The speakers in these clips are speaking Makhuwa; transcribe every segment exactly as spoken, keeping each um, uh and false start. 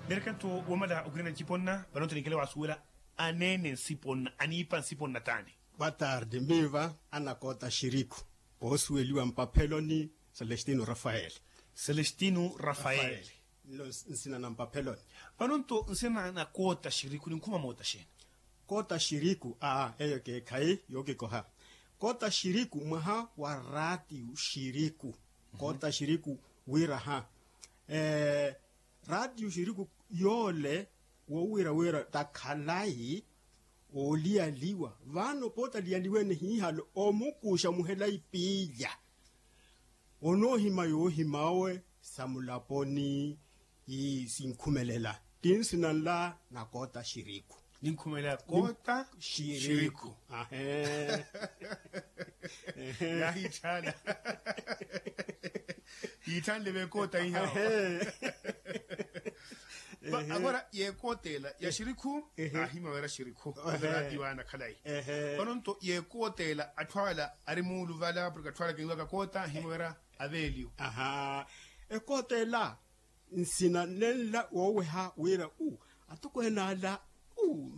Merkanto womala okhwirana ncipo nna. Vanonto ninkele wasuwela aneene nsipo nna aniipa nsipo nna taani. Boa tarde miiva, anakoota xiriku, koosuweliwa mpapheloni. Celestino rafael. Celestino rafael. Nlo nsina na mpapheloni. Vanonto nsina na koota xiriku ninkhuma moota xeeni? Koota xiriku aa eyo keekhayi yookikoha. Koota xiriku mwaha wa raatiyu xiriku. Koota xiriku wira ha raatiyu xiriku yoole woowira wira takhalayi ooliyaliwa. Vano pooti aliyaliwene hiihalo omukuxa muhela ipiilya onoohima yoohim'awe sa mulaponi. Sinkhumelela ti nsina nla na koota xiriku. Ninkhumelela koota xiriku. Ahe. Yaahitthaala. Yitthanle veekoota ihawo. Agora yeekootela ya xirikhu. Aahima wira xirikhu. Raatiyo aya nakhalayi. Vano nto yeekootela atthu ala ari muuluvala porke atthu ala kinwaka koota aahima wira aveeliyo. Aha. Ekootela nsina nenla wooweha wira u atokweene ala u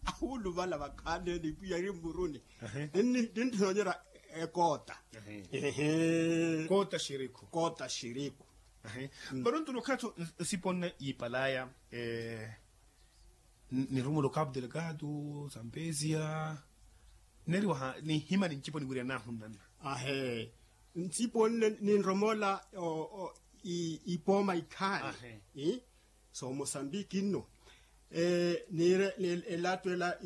awuluvala vakhaani ene ipwiya eri mmuruni. Ninnoonyerya ekoota. Koota xiriku. Koota xiriku. Vano nto nokhala tho nsipo nne yiipalaya nirumula okapu delgado, sampesia. Nneeriwa ninhima ni ncipo niwiryanaahu nnanna. Ahe. Ncipo nne ninromola ipooma ikhaani. Soomosambiki nno niire elattu ela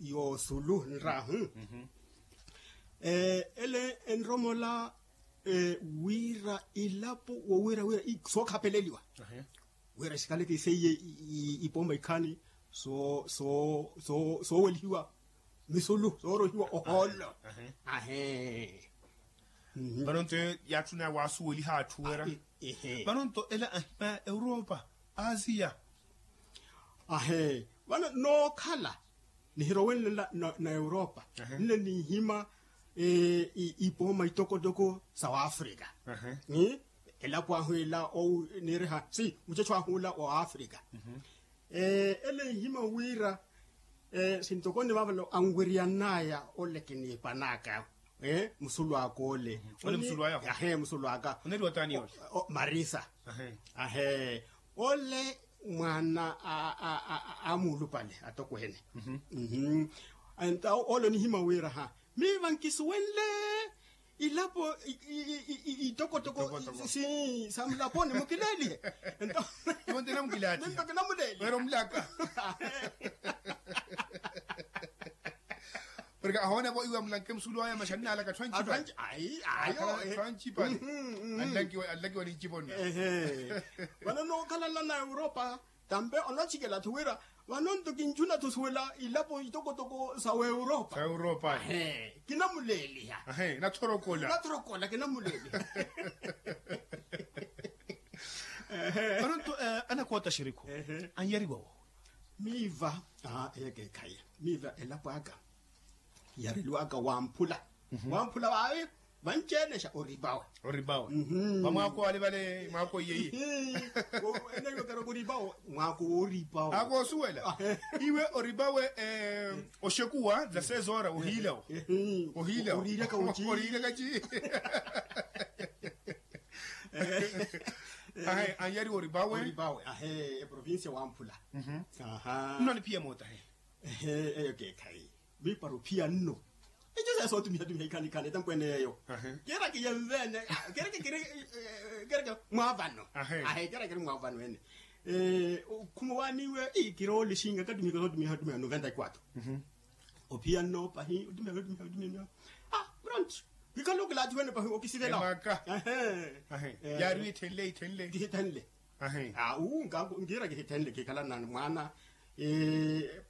yoosulu nraahu. Ele enromola wira ilapo woowira wira sookhapeleliwa wira xikaleke seiye ipooma ikhaani soowelihiwa misulu soorohiwa ohoolo. Ahe. Vano nto yaatthuna waasuweliha atthu wira. Vano nto ela ahimaya europa, asiya. Ahe. Vano nookhala nihirowenle na europa nne ninhima ipooma itokotoko sa waafrika. Elapo ahu ela niiriha si muchetho ahu ela wa waafrika. Ele nhima wira sintokoni vaavale anwiryanaya ole kiniipanaka musulu aka ole. Ahe musulu aka. Marisa. Ahe. Ole mwaana a muulupale atokweene. Ole onihima wira ha miiva nkisuwenle ilapo itokotoko. Sa mulaponi mukileelihe. Iwo nti namukilaathiha. Wira omulaka. Porke ahoona vo iwe amulanke musulu aya maxanina alaka tthwanci. Ayo. Tthwanci pale. Anlakiwa ni nciponna. Vano nookhala nla na europa tampe onoochikela-tho wira vano nto kinchuna-tho osuwela ilapo itokotoko sa weuropa. Sa europa. Kinamuleeliha. Nathorokola. Nathorokola kinamuleeliha. Vano nto anakoota xirikhu anyariwa wo. Miiva eyo keekhayi miiva elapo aka yareliwaka wamphula. Wamphula vaavi vanci-ene xa oripawe. Oripawe vamwaako wale vale mwaako iye iye. Enaiwekera oripawe mwaako wooripawe. Akoosuwela iwe oripawe oxekuwa za sesora ohiilawo. Ohiilawo oriireka oci. Oriireka ci. Ahe anyariwa oripawe. Oripawe ahe eprovincia wamphula. Nno aniphiya moota he. Eyo keekhayi. Miipara ophiya nno. Ici seesootumiha-tumiha ikhani-khani etampwene yeeyo. Keeraka iye nveene keeraka kiri keeraka mwaavano. Ahe keeraka kiri mwaavano ene. Okhuma waaniwe ii kiroole xinga katumihaka sootumiha-tumiha noventa y quatro. Ophiya nno pahi otumiha otumiha otumiha. Pronto kikhala okilaathiwene pahi okisivela. Yaari wi ithenle ithenle kihithenle. Awu nkiira kihithenle kikhala nani mwaana.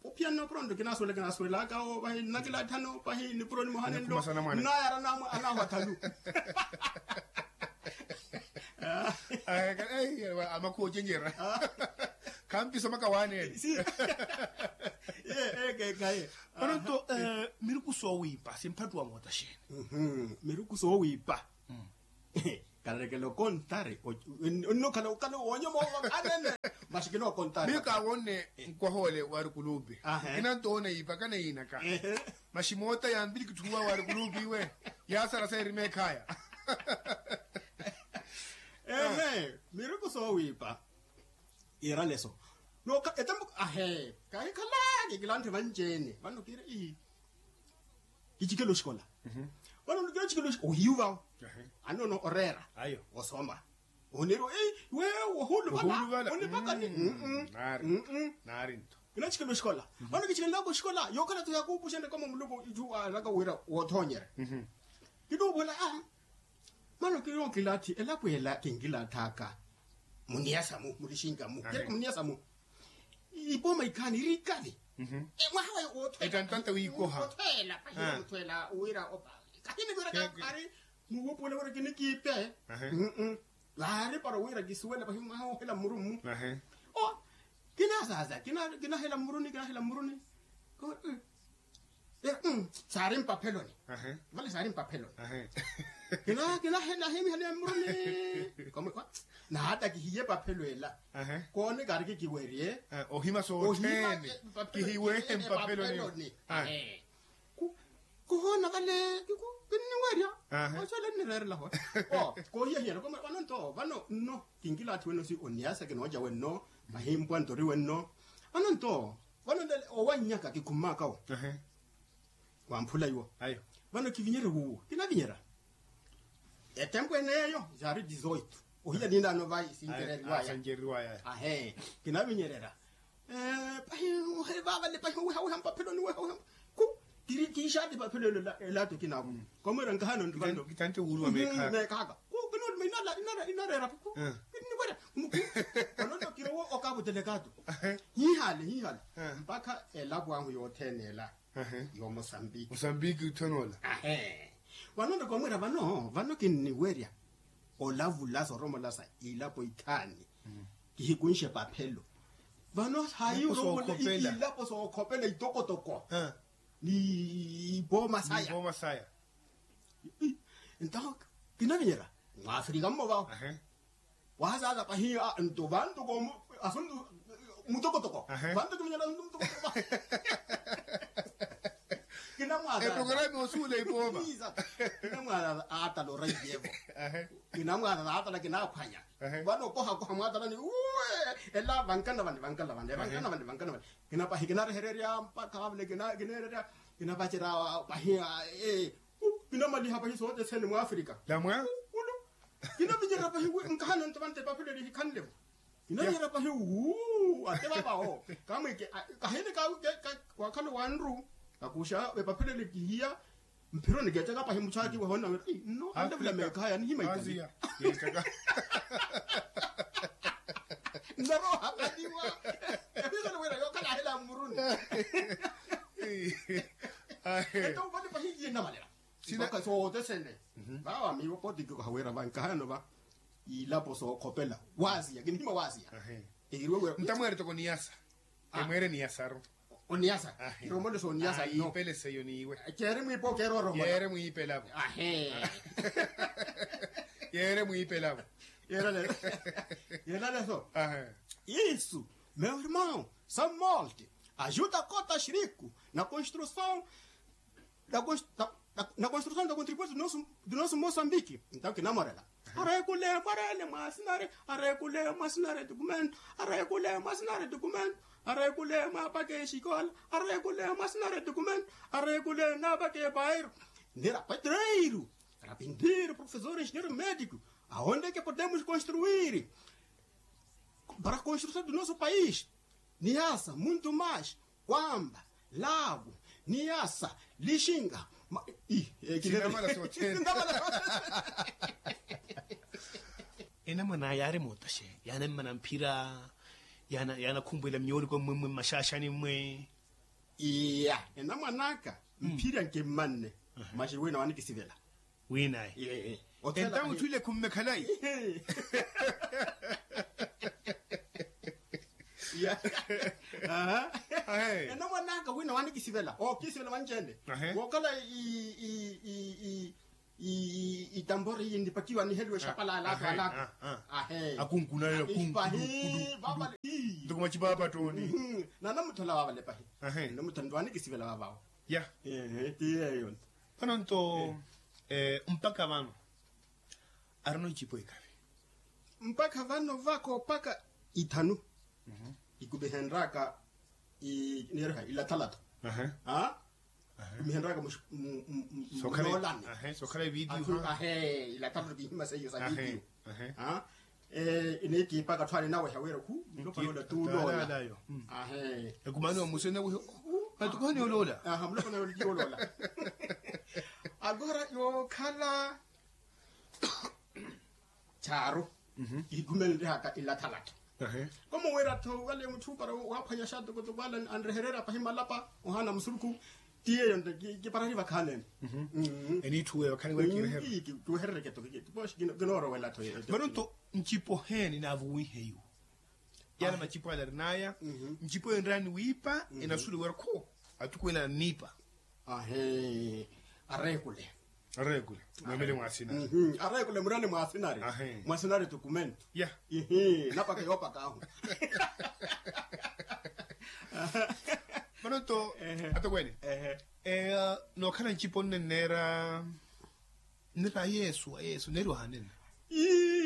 Ophiya nno pronto kinaasuwela kinaasuwelaka vahi nnakilaathano vahi nipuro nimoha nenlo. Nnayara anahwa thalu. Amakhuwa ocenjera. Khampisa omaka waaneene. Ye ekeekhaye. Vano nto miruku soowiipa simphattuwa moota xeeni? Miruku soowiipa. Kanarekela okontari. Onno khala wonyoma owo anene. Masi kinookontari. Miyo kaawonne nkwaha ole wari kulupi. Kinantoona iipaka na iinaka. Masi moota yaanvili kithuwa wari kulupi iwe. Yaasara seerima ekhaya. Ehe, miruku soowiipa. Iiraleso. Nooka etembo ahe. Kahikhala kikilanthi vanci-ene vano kiira ii. Kicikela oxikola. Vano nukela ocikela oxikola ohiyu vawo. Anono oreera. Osoma. Oneeriwa ei wewe wohuuluvala. Onipaka ni. Naari nto. Kinacikela oxikola. Vano kicikelelaka oxikola yookhala tu yakuupuxa nde koma muluku itthu araka wira woothonyerya. Kinuuvola a. Mano kinookilathi elapo ela kinkilathaka. Muniyasa-mu mulixinka-mu kereke muniyasa mu. Ipooma ikhaani iri ikavi. Mwaha wayo woothweela. Etantanta wiikoha. Woothweela pahi woothweela wira opa. Kahini wira kakhari muwuupuwela wira kinikiipe. Vaari para wira kisuwela pahi mwaha woohela mmuru mmu. O. Kinasasa kinahela mmuruni kinahela mmuruni. Saari mpapheloni. Vale saari mpapheloni. Kina kina hena hemihale mmuruni. Naata kihiye paphelo ela. Koone kaari kikiwerye. Ohima soothene. Kihiwehe mpapheloni. Kuhoona vale kinniwerya. Oxoole nnireerela hoona. Koohiyahiyana koma vano nto vano nno. Kinkilaathi wenno si oniyasa kinooca wenno. Mahimpwa ntori wenno. Vano nto vano nlele owannyaka kikhummakawo. Wamphula iwo. Vano kivinyerya wuwo kinavinyerya. Etempo eneeyo yaari dizoito. Ohiya ninaano vai sincereriwaya. Ahe kinavinyererya. Pahi vavale pahi owihawiha mpapheloni wehawiha. Ku kiri kiixaati paphelo elo elato kinawo. Komwira nkahano nri vano. Meekaka ku kinooluma inareera. Kinniwerya. Onono kirowo okavutelekaato. Hiihale hiihale. Mpakha elapo ahu yothene ela. Yoomosambiki. Mosambiki itthonoola. Vano nto komwira vano vano kinniwerya. Olavula soromolasa ilapo ikhaani. Kihikunxe paphelo. Vano hayi oromola ilapo sookhopela itokotoko. Ni ipooma saya. Nto kinavinyerya. Mwafrika mmo vao. Wahasaasa pahi nto vantu koomu asuntu. Mutokotoko. Vantu kivinyerya asuntu mutokotoko. Kinamwaasa. Eprograma osuula ipooma. Kinamwaasa aatala oraiyevo. Kinamwaasa aatala kinaphwanya. Vano okohakoha mwaatalani uwe. Ela vankana vani vankana vani vankana vani vankana vani. Kinapahi kinarehererya mpakha vavule kineererya. Kinavacerya pahi. Kinamaliha pahi sothene mwafrika. Lamwa. Kinavinyerya pahi nkahano nto vante paphelo eri hikhanlevo. Kinavinyerya pahi wuu ate vavawo. Kamwike kahini. Wakhala owanru kakuxa epaphelo eri kihiya. Mphironi keettaka pahi muchaaki wahona wira nno anlevula meekhaya nihima ikali. Nnaroha kaliwa. Episoni wira yookhala ahela mmuruni. Ento upale pahi iye nnavalela. Soote sene. Vawa miiwo potiki okaha wira vankahano va. Ilapo sookhopela waasiya kinihima waasiya. Ntamweere toko niyasa. Emweere niyasaru. Oniyasa. Kiromoleso oniyasa no. Iipelese eyo niiwe. Ceere mwiipa okeera oromola. Yeere mwiipelavo. Yeere mwiipelavo. Yeelaleso. Isso, meu irmão, são molti ajuda a cota xirico na construção. Na construção da contribuição do nosso moçambique. Então kinamorela. Arekule mwarele mwasinare. Arekule mwasinare documento. Arekule mwasinare documento. Arekule mwapake exikola. Arekule mwasinare documento. Arekule napake bairo. Nira pedreiro, carpinteiro, professor, engenheiro, médico. Aonde que podemos construir para a construção do nosso país? Niasa muntu mais kwamba lavu. Niasa lixinga. Sinamala sothene. Enamwan'aya yaari mootaxe yaanammana mphira. Yaanakhumpwela myooriko mmwe mmwe mmaxaaxani mmwe. Iya enamwan'aka mphira nkimmanne. Maxi wina wanikisivela. Winaye. Entamu thwile khumme khalayi. Enamwan'aka wina wanikisivela ookisivela vanci-ene. Wookhala i itambori iyi nnipakiwa niheliwe exapala alaato alaato. Akunkunale. Ntoko macipa apattooni. Nanamuthola wavale pahi. Namuthola nto anikisivela vavawo. Ya. Ti yeyo nto. Vano nto mpakha vano arino ncipo ikavi. Mpakha vano vako mpakha ithanu. Ikumihenraka. Niyeriha ilathalatha. Kumihenraka munoolani. Sokhala evidiyo. Ahe ilathalatha kihimasa iyo sa vidiyo. Inikiipaka tthwani naweha wira khu nlopanola tuuloola. Ekumani wa musene naweha. Matukuhani oloola. Mulopanola tuuloola. Agora yookhala chaaru. Ihikhumene ntihaka ilathalatha. Komo wira tho wale mutthu para waaphwanya xaatokotoko ale anrehererya pahi malapa ohaana musurukhu. Ti yeyo nto kiparari vakhaanene. Eniitthuwe vakhaani wira kirehererya. Kiwehererya keto. Kinoorowela tho yeyo. Vano nto ncipo heeni naavuwihe iwo? Yaani macipo ale arinaya ncipo enraani wiipa enasuliwa erikhu. Atukuwela anniipa. Ahe. Areekule. Areekule. Mwemele mwasinari. Areekule murane mwasinari. Mwasinari tukumentu. Napaka yoopaka ahu. Manoto. Atokwene. Nookhala ncipo nnenneera nnira yesu yesu neeriwa hanene.